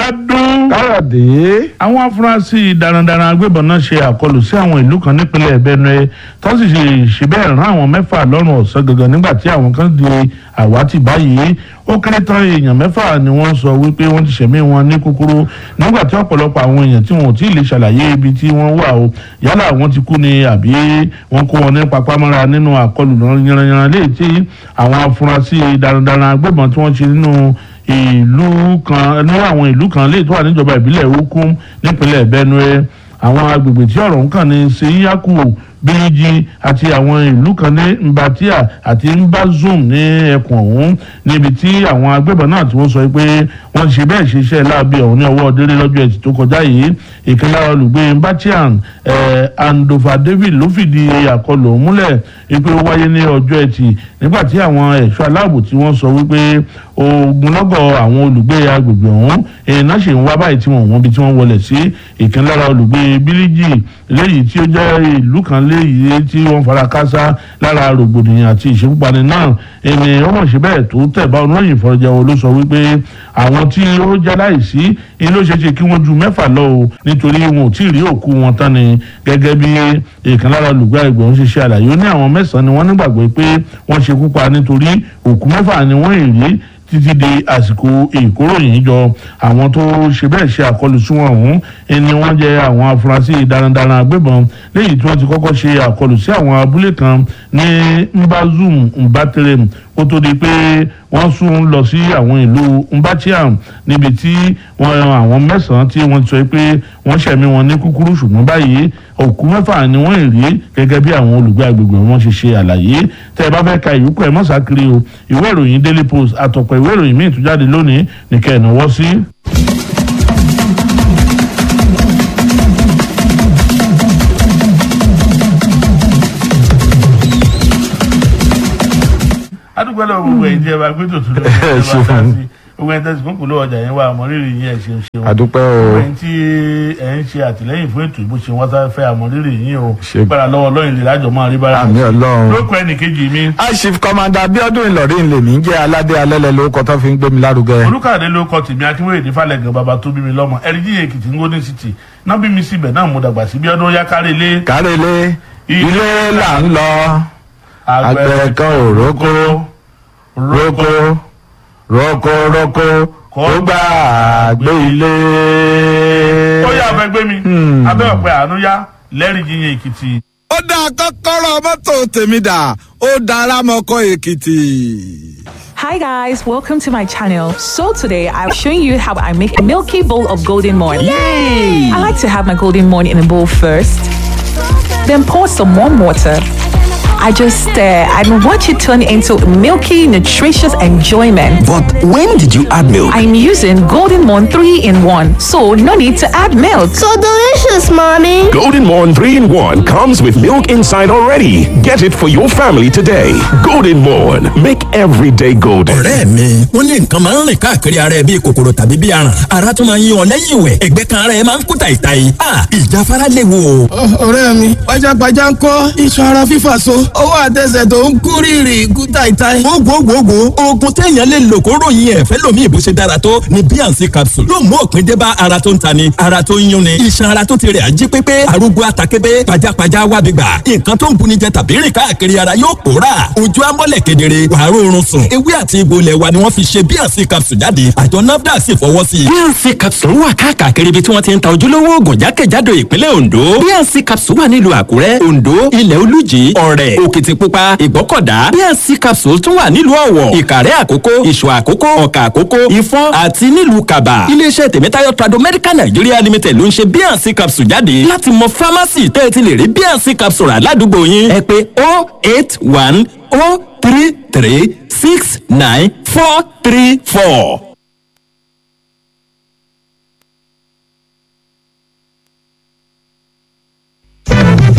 Bíọ́dún. Káyọ̀dé. Àwọn afurasí darandaran agbébọn náà ṣe àkọlù sí àwọn ìlú kan nípínlẹ̀ Benue, tó sì ṣe bẹ́ẹ̀ rán àwọn 6 lọ́rùn ọ̀sán gangan nígbà tí àwọn kan di àwátì báyìí. Ó kéré tán èèyàn 6 ni wọ́n sọ wípé wọ́n ti ṣẹ̀mí wọn ní kúkúrú nígbà tí ọ̀pọ̀lọpọ̀ àwọn èèyàn tí wọn ò tí ì lè ṣàlàyé ibi tí wọ́n wà o, yálà wọ́n ti kú ni àbí wọ́n kó wọn ní papámọ́ra nínú àkọlù yanranyanran léyìí tí àwọn afurasí darandaran agbébọn tí wọ́n ṣe nínú ìlú kan, ní àwọn ìlú kan léyìí tó wà níjọba ìbílẹ̀ Ukum nípínlẹ̀ Benue. Àwọn agbègbè tí ọ̀rọ̀ ń kàn ní Seiyaku, Bíríjì àti àwọn ìlú kan ní Mbatia àti Mbazum ní ẹkùn ọ̀hún, níbi tí àwọn agbébọn náà tí wọ́n sọ pé wọ́n ṣe bẹ́ẹ̀ ṣiṣẹ́ láabi ọ̀hún ní ọwọ́ délé lọ́jọ́ Ẹtì tó kọjá yìí. Ìkan lára olùgbé Mbatian, Andofa David, ló fìdí àkọlù ọ̀hún múlẹ̀ wípé ó wáyé ní ọjọ́ Ẹtì nígbà tí àwọn ẹ̀ṣọ́ aláàbò tí wọ́n sọ wípé ogunlọ́gọ̀ àwọn olùgbé agbègbè ọ̀hún iná ṣì ń wá báyìí tí wọ́n wọ́n bí tí wọ́n wọlé sí. Ìkan lára olùgbé Bíríjì léyìí tí ó jẹ́ ìlú kan léyìí tí wọ́n fara kásá lára rògbòdìyàn àti ìṣekúpani náà, ẹni ó mọ̀ sí bẹ́ẹ̀ tó tẹ̀ bá oníròyìn ìfọ̀rọ̀jẹ̀wò ló sọ wípé àwọn tí ó jẹ́ láìsí ni ló ṣeé ṣe kí wọ́n ju 6 lọ o, nítorí wọn ò tí ì rí òkú wọn tán ni. Gẹ́gẹ́ bí ìkan lára olùgbé àgbẹ̀ ń ṣe ṣe àlàyé, ó ní àwọn 9 ni wọ́n nígbàgbọ́ pé wọ́n ṣekú pa nítorí òkú 6 ni wọ́n ì rí títí di àsìkò ìkóròyìn jọ. Àwọn tó ṣe bẹ́ẹ̀ ṣe àkọlù sí wọn ọ̀hún ni wọ́n jẹ́ àwọn afurasí darandaran agbébọn léyìí tí wọ́n ti kọ́kọ́ ṣe àkọlù sí àwọn abúlé kan ní Mbazum, Mbaterem, kó tó di pé wọ́n sún lọ sí àwọn ìlú Mbatiam níbi tí wọ́n àwọn 9 tí wọ́n sọ pé wọ́n ṣẹ̀mí wọn ní kúkúrú, ṣùgbọ́n báyìí òkú 6 ni wọ́n rí gẹ́gẹ́ bí àwọn olùgbé agbègbè wọn ṣe ṣe àlàyé. Tẹ́ ẹ bá fẹ́ ka ìyókù ẹ̀ mọ́sákiri o, ìwé ìròyìn Daily Post àtọ̀pọ̀ ìwé ìròyìn míì tún jáde lónìí nìkẹ́ ẹ̀ náwó sí. Adúgbò lọ gbogbo ẹ̀yin tí ẹ bá gbé tòtún lórí ẹ bá dá sí gbogbo ẹ̀yin tẹsí kúnkún ló ọjà yẹn wà, àmọrírì yín, ẹ ṣeun ṣeun. Àdúpẹ́ o. Gbogbo ẹ̀yin tí ẹ ń ṣe àtìlẹ́yìn fún ètò ìbò ṣe wọn tá fẹ́, àmọrírì yín o. Gbára lọ́wọ́ Ọlọ́run lè lájọ máa rí bára. Àmín Ọlọ́run. Lóko ẹnì kejì mi. Chief Commander Bíọ́dún Ìlọrin lèmi ń jẹ́, aládé alẹ́lẹ̀ lórúkọ tó fi ń gbé mi lárugẹ. Olùkàdé ló kọ tèmi, Akínwéyèdè Falẹ̀gàn, bàbá tó bí mi lọ́mọ, ẹ̀ríjì Èkìtì ń Golden City náà bí mi síbẹ̀ náà mo dàgbà sí. Bíọ́dún yá kárẹ̀ lé. Kárẹ̀ lé, ilé là ń lọ, àgbẹ̀ kan ò rókó rókó rókó rókó kó gbà gbé ilé. Ó yá, abẹ́ gbé mi abẹ́ ọ̀pẹ àánú yá lẹ́rìí Jíyìn Èkìtì. Ó dá kọ́kọ́rọ́ mọ́tò tèmi dà, ó dára mọ́kọ́ Èkìtì. Hi guys, welcome to my channel. So today I'm showing you how I make a milky bowl of Golden Morn. Yay! I like to have my Golden Morn in a bowl first, then pour some warm water. I just stare and watch it turn into milky, nutritious enjoyment. But when did you add milk? I'm using Golden Morn 3 in 1, so no need to add milk. So delicious, Mommy. Golden Morn 3 in 1 comes with milk inside already. Get it for your family today. Golden Morn. Make every day golden. Ọ̀rẹ́ mi, wọ́n ní nǹkan máa ń rìn káàkiri ara ẹ bíi kòkòrò tàbí bíi aràn. Ara tún máa ń yí ọ lẹ́yìn ìwẹ̀. Ẹ̀gbẹ́ kan ara ẹ máa ń kú tàìtàì. Ìjáfara léwu o. Ọ̀rẹ́ mi, pajápajá ń kọ́, iṣan ara fífà so, ọwọ́ àtẹsẹ̀ tó ń kú rìrì kú táìtáì. Gbogbogbò oògùn téèyàn lè lò kó ròyìn ẹ̀fẹ́ lómi ìbò ṣe dára tó ni Bíànsì capsule yóò mú òpin dé bá ara tó ń tani, ara tó ń yúnni, iṣan ara tó ti rẹ̀ ají pépé, arúgbó atakébé, pajápajá wábi gbà, nǹkan tó ń buni jẹ tàbí rìn káàkiri ara yóò pòórà, ojú amọ́lẹ̀ kedere, wàá rọrùn sùn. Ewé àti egbò ilẹ̀ wa ni wọ́n fi ṣe Bíànsì capsule jáde. Àjọ NAFDAC sì fọwọ́ sí i. Bíànsì capsule wà káàkiri ibi tí wọ́n ti ń ta ojúlówó oògùn jákèjádò ìpínlẹ̀ Ondo. Bíànsì capsule wà nílùú Àkúrẹ́, Ondo, Ilẹ̀ Olújì, Ọ̀rẹ̀, Òkìtìpupa, Ìgbọ́kọ̀dá. Bíànsì capsule tún wà nílùú Ọ̀wọ̀, Ìkàrẹ́ Àkókó, Ìṣọ̀ Àkókó, Ọ̀kà Àkókó, Ìfọ̀n àti nílùú Kàbà. Iléeṣẹ́ Tèmítáyọ̀ Trado Medical Nigeria Limited ló ń ṣe Bíànsì capsule jáde. Láti mọ fámásì tẹ́ ẹ ti lè rí Bíànsì capsule rà ládùúgbò yín, ẹ pè 081 033 69 434.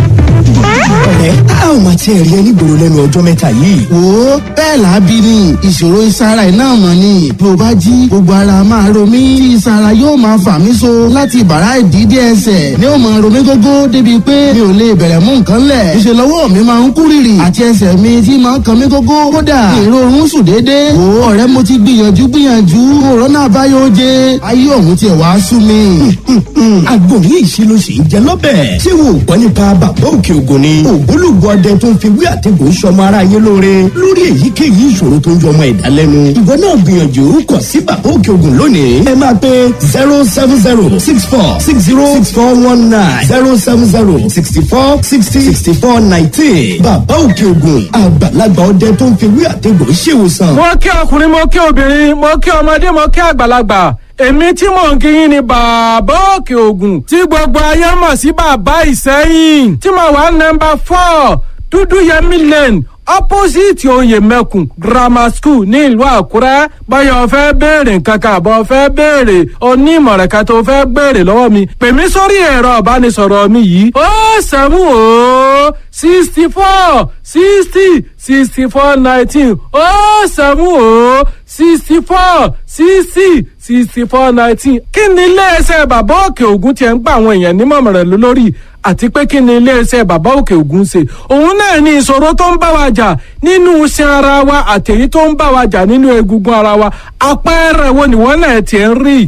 Ọ̀rẹ́, a ò mà Mà tiẹ̀ rí ẹ nígboro lẹ́nu ọjọ́ mẹ́ta yìí. Wo, bẹ́ẹ̀ làábí ni ìṣòro ìsara iná mọ̀ ni. Bí o bá jí, gbogbo ara máa ro mí tí ìsara yóò máa fà mí so láti bàrá ìdídé ẹsẹ̀ ni ó máa ro mí gógó débi pé mi ò lè bẹ̀rẹ̀ mú nǹkan lẹ̀. Ìṣe lọ́wọ́ mi máa ń kú rìrì àti ẹsẹ̀ mi tí máa ń kan mí gógó. Kódà ìrorun sùn déédéé. Wo ọ̀rẹ́, mo ti gbìyànjú gbìyànjú, òrónà àbáyọ oje ayé òun tiẹ̀ wá sú mi. Àgbo yìí ṣe ló ṣe ń jẹ lọ́bẹ̀. Ṣé wo ò gbọ́ nípa Bàbá Òkè Ògùn ni? Ògbólógbò ọdẹ tó ń fi wí àtẹ̀gùn sọmọ aráyé lóore lórí èyíkéyìí ìṣòro tó ń jọ ọmọ ẹ̀dá lẹ́nu. Ìwọ náà gbìyànjú kàn sí Bàbá Òkè Ògùn lónìí. Ẹ máa pe 07064606419, 07064606419. Bàbá Òkè Ògùn, àgbàlagbà ọdẹ tó ń fi wí àtẹ̀gùn ṣèwòsàn. Mo kí ọkùnrin, mo kí obìnrin, mo kí ọmọdé, mo kí àgbàlagbà. Èmi tí mò ń kíyìn ni Bàbá Òkè Ògùn tí gbogbo ayé mọ̀ sí Bàbá Ìsẹ́yìn, tí mo wà nọ́mbà 4 Dúdú Yẹmí Lane, opposite Oyè Mẹ́kùn Grammar School ní ìlú Àkúrẹ́. Báyọ̀ fẹ́ béèrè nǹkan kan àbọ̀ fẹ́ béèrè onímọ̀ràn kan tó fẹ́ béèrè lọ́wọ́ mi, pè mí sórí ẹ̀rọ ìbánisọ̀rọ̀ mi yìí: 07064606419, 07064606419. Kí ni iléeṣẹ́ Bàbá Òkè Ògùn tiẹ̀ ń gba àwọn èèyàn nímọ̀ràn lórí, àti pé kí ni iléeṣẹ́ Bàbá Òkè Ògùn ṣe? Òun náà ni ìṣòro tó ń bá wa jà nínú iṣan ara wa àtèyí tó ń bá wa jà nínú egungun ara wa. Àpẹẹrẹ wo ni wọ́n náà tiẹ̀ ń rí?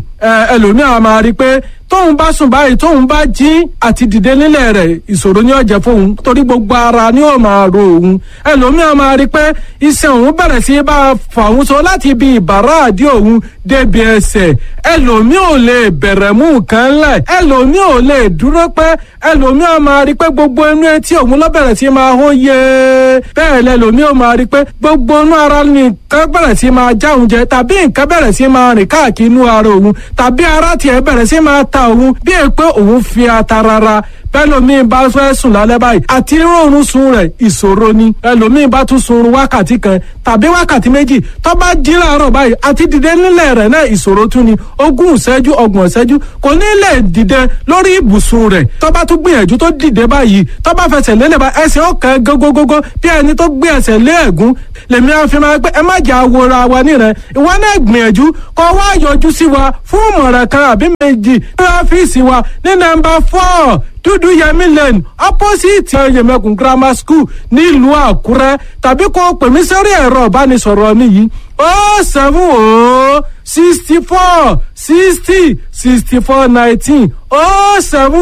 Ẹlòmíràn máa rí i pé tóun bá sùn báyìí, tóun bá jí, àti dìde nílẹ̀ rẹ̀ ìṣòro ni ó jẹ́ fóun, torí gbogbo ara ni ó máa ro òun. Ẹlòmíràn máa rí i pé iṣan òun bẹ̀rẹ̀ sí bá a fà òun so láti ibi ìbàrá àdí òun débi ẹsẹ̀. Ẹlòmíì ò lè bẹ̀rẹ̀ mú nǹkan lẹ̀, ẹlòmíì ò lè dúró pẹ́. Ẹlòmíì máa rí i pé gbogbo inú etí òun ló bẹ̀rẹ̀ sí máa hó yé. Bẹ́ẹ̀ lẹlòmíì ò máa rí i pé gbogbo inú ara nìkan bẹ̀rẹ̀ sí máa já òun jẹ, tàbí nǹkan bẹ̀rẹ̀ sí máa rìn káàkiri inú ara òun, tàbí ara tiẹ̀ bẹ̀rẹ̀ sí máa ta òun bí è pé òun fi ata rárá. Bẹ́lòmíì bá fẹ́ sùn lálẹ́ báyìí, àti rọrùn sun rẹ̀ ìṣòro ni. Ẹlòmíì bá tún sunrun wákàtí kan tàbí wákàtí 2, tó bá jí láàárọ̀ báyìí, àti dìde nílẹ̀ rẹ̀ náà ìṣòro tún ni. 20 ìṣẹ́jú, 30 ìṣẹ́jú, kò ní lè dìde lórí ibùsùn rẹ̀. Tó bá tún gbìyànjú tó dìde báyìí, tó bá fẹsẹ̀ lélẹ̀ bá, ẹsẹ̀ ọ̀kan gógógógó bí ẹni tó gbé ẹsẹ̀ lé ẹ̀gún. Lèmi á fi máa pé ẹ má jà wora wa nírẹ̀. Ìwọ náà gbìyànjú kó wá yọjú sí wa fún ìmọ̀ràn kan àbí méjì ní ọ́fíìsì wa ní nọ́mbà 4 Dúdú Yẹmí Lane, opposite Oyèmẹkùn Grammar School nílùú Àkúrẹ́, tàbí kó pè mí sórí ẹ̀rọ ìbánisọ̀rọ̀ mi yìí: 07064606419,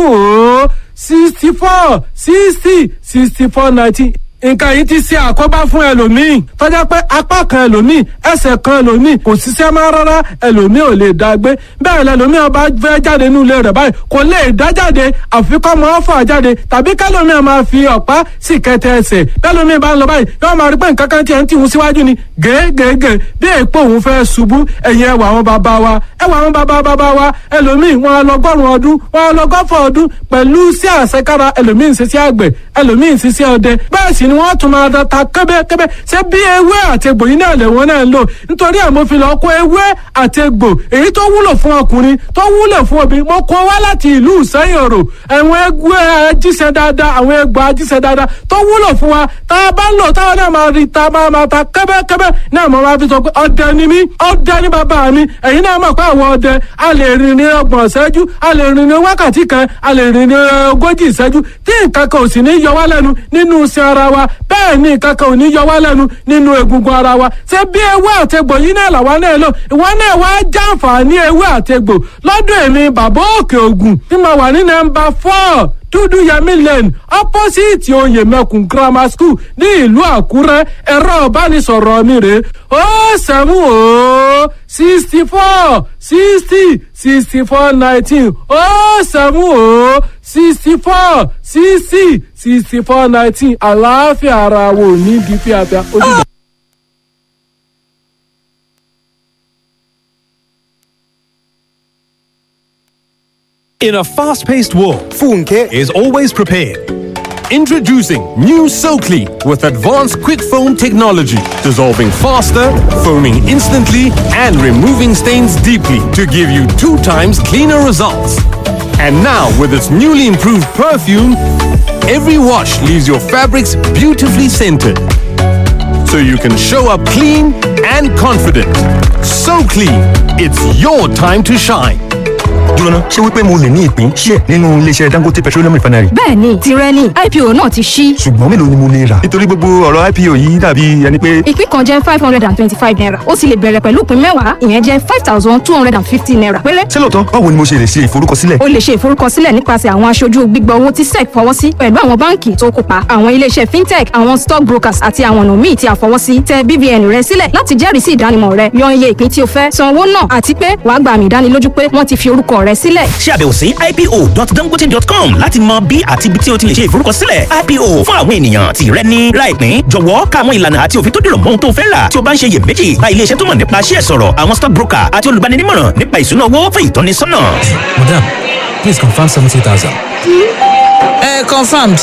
07064606419. Nǹkan yìí ti ṣe àkóbá fún ẹlòmíì tọ́já pé apá kan ẹlòmíì, ẹsẹ̀ kan ẹlòmíì kò ṣiṣẹ́ mọ́ rárá. Ẹlòmíì ò lè dá gbé bẹ́ẹ̀. Lẹlòmíì ọba fẹ́ jáde nínú ilé rẹ̀ báyìí, kò lè dá jáde, àfi kọ́ mọ́ fà jáde, tàbí kẹlòmíì máa fi ọ̀pá sì kẹtẹ ẹsẹ̀. Bẹ́lòmíì bá ń lọ báyìí, yóò máa rí pé nǹkan kan tiẹ̀ ń tìhun síwájú ni gègègè bí èèpo òun fẹ́ ṣubú. Ẹ̀yìn ẹwà àwọn bàbá wa, ẹwà àwọn bàbá bàbá wa, ẹlòmíì wọn lọgọ́rùn ọdún, wọn lọgọ́fọ̀ ọdún pẹ̀lú sí àṣekára. Ẹlòmíì ń ṣiṣẹ́ àgbẹ̀, ẹlòmíì ń ṣiṣẹ́ ọdẹ, bẹ́ẹ̀ sì ni wọ́n tún máa ta kébékébé. Ṣé bí ewé àti egbò yìí náà lẹ̀wọ̀n náà ń lò? Nítorí ẹ̀ mo fi lọ kó ewé àti egbò èyí tó wúlò fún ọkùnrin, tó wúlò fún obìnrin, mo kó wá láti ìlú Ìsẹ́yìn Òrò. Àwọn egbò ajíṣẹ́ dáadáa, àwọn egbò ajíṣẹ́ dáadáa tó wúlò fún wa, tá a bá ń lò táwọn náà máa rí ta máa máa ta kébékébé náà. Mo máa fi sọ pé ọdẹ ni mí, ọdẹ ni bàbá mi. Ẹ̀yin náà mọ̀ pé àwọn ọdẹ a lè rìn ní 30 ìṣẹ́jú, a lè rìn ní wákàtí kan, a lè rìn ní 40 ìṣẹ́jú, tí nǹkan kan ò sì ní yọ wá lẹ́nu nínú iṣan ara wa. Bẹ́ẹ̀ ni nǹkan kan ò ní yọ wá lẹ́nu nínú egungun ara wa. Ṣé bí ewé àtegbò yìí náà làwa náà lò? Ìwọ náà wá jàǹfààní ewé àtegbò lọ́dọ̀ èmi Bàbá Òkè Ògùn tí mo wà ní nọ́mbà 4 Dúdú Yẹmí Lane, opposite Oyèmẹkùn Grammar School ní ìlú Àkúrẹ́. Ẹ̀rọ ìbánisọ̀rọ̀ mi rèé: 07064606419, 07064606419. Àlàáfíà ara wo ní di fíafíà ó dìgbà. In a fast paced world, Funke is always prepared. Introducing new SoClean with advanced quick foam technology, dissolving faster, foaming instantly, and removing stains deeply to give you 2 times cleaner results. And now, with its newly improved perfume, Every wash leaves your fabrics beautifully scented. So you can show up clean and confident. So clean, it's your time to shine. Jóná, ṣé wípé mo lè ní ìpín ṣíẹ̀ nínú iléeṣẹ́ Dangote Petroleum Refinery? Bẹ́ẹ̀ni, tirẹ̀ ni, IPO náà ti ṣí. Ṣùgbọ́n mélòó ni mo lè rà? Nítorí gbogbo ọ̀rọ̀ IPO yìí dàbí ẹni pé. Ìpín kan jẹ́ ₦525. Ó sì lè bẹ̀rẹ̀ pẹ̀lú ìpín 10, ìyẹn jẹ́ ₦5,250 péré. Ṣé lóòótọ́? Báwo ni mo ṣe lè ṣe ìforúkọsílẹ̀? O lè ṣe ìforúkọsílẹ̀ nípasẹ̀ àwọn aṣojú gbígbà owó tí SEC fọwọ́ sí pẹ̀lú àwọn báǹkì tó kópa, àwọn iléeṣẹ́ fintech, àwọn stock brokers àti àwọn ọ̀nà míì tí a fọwọ́ sí. Tẹ BVN rẹ sílẹ̀ láti jẹ́rìí sí ìdánimọ̀ rẹ, yan iye ìpín tí o fẹ́, san owó náà, àti pé wàá gba àmì ìdánilójú pé wọ́n ti fi orúkọ rẹ sílẹ̀. Ṣe àbẹ̀wò sí ipo.dangote.com láti mọ bí àti ibi tí o ti lè ṣe ìforúkọsílẹ̀ IPO fún àwọn ènìyàn tí rẹ ní. Ra ìpín, jọ̀wọ́ ka àwọn ìlànà àti òfin tó dìrọ̀ mọ́ ohun tó fẹ́ rà. Tí o bá ń ṣe iyèméjì, bá ilé iṣẹ́ tó mọ̀ nípa ṣíẹ̀ sọ̀rọ̀, àwọn stock broker àti olùgbaninímọ̀ràn nípa ìṣúná owó fún ìtọ́nisọ́nà. Madam, please confirm 70,000. Confirmed.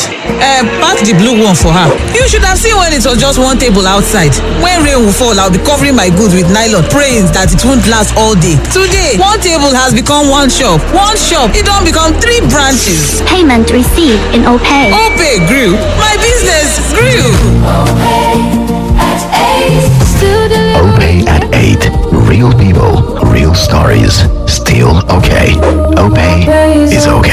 Pack the blue one for her. You should have seen when it was just one table outside. When rain will fall, I'll be covering my goods with nylon, praying that it won't last all day. Today, one table has become one shop. One shop, it don't become three branches. Payment received in OPay. OPay grew. My business grew. OPay at 8. Real people, real stories. Still okay. OPay is okay.